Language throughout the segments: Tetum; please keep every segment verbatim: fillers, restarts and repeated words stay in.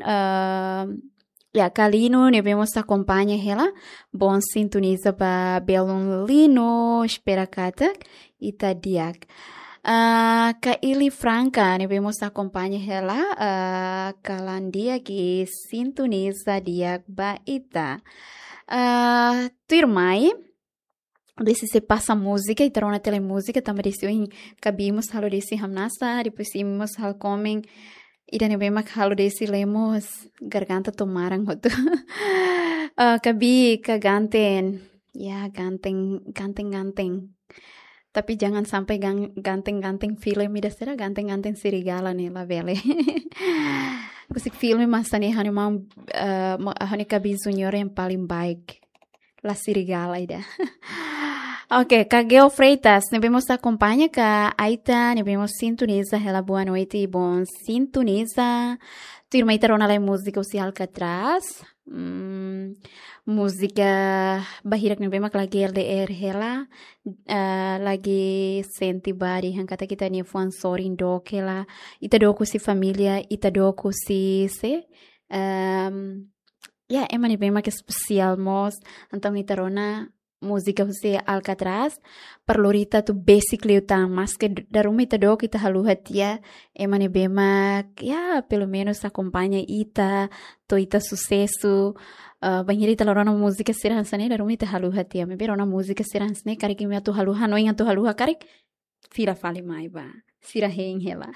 ah, ya, Kalino ne'ebé mós akompaña hela, bom sintoniza ba belun Lino, espera katak ita di'ak. Ah, Kaili Franca ne'ebé mós akompaña hela, ah, kalan di'ak i sintoniza di'ak ba ita. Ah, tuirmai, desde se pasa múzika, ita rona tiha lai múzika, tanba desde ohin Kabi mós halo desi hamnasa, depois imi mós halo komen, ida ne'ebé mak halo desi lemos, garganta to'o maran hotu. Ah, Kabi ka ganten, ya ganten, ganten, ganten. Tapi jangan sampai gan-, ganten-ganten filme ida sira, ganten-ganten serigala ne'e labele. Husik filme masa ne'e ha'u-nia maun, eh, ma-, ha'u-nia Kabi Junior yang paling baik. La serigala ida. Oke, Kageo Freitas, ne'ebé mós akompaña, Ka Aita, ne'ebé mós sintoniza hela, boa noite, bom sintoniza. Tuirmai ita rona lai múzika husi Alcatraz. Hmm, múzika bahirak ne'ebé mak lagi L D R hela, ah, lagi sente ba dehan katak ita-nia fuan sorin dook hela, ita dook husi família, ita dook husi se, ehm, ya, ema ne'ebé mak espesiál mós, entaun ita rona múzika husi Alcatraz, para lori ita atu besik liután, maske d-, dala ruma ita dook ita haluha tiha, ema ne'ebé mak, ya, pelumenus akompaña ita, to'o ita susesu, eh, bainhira ita la rona múzika sira hanesan ne'e, dala ruma ita haluha tiha, maibé rona múzika sira hanesan ne'e, karik imi atu haluha, hanoin atu haluha, karik fila fali mai ba, sira hein hela.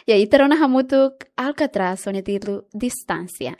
Ya, ita rona hamutuk Alcatraz, ho nia títulu Distánsia.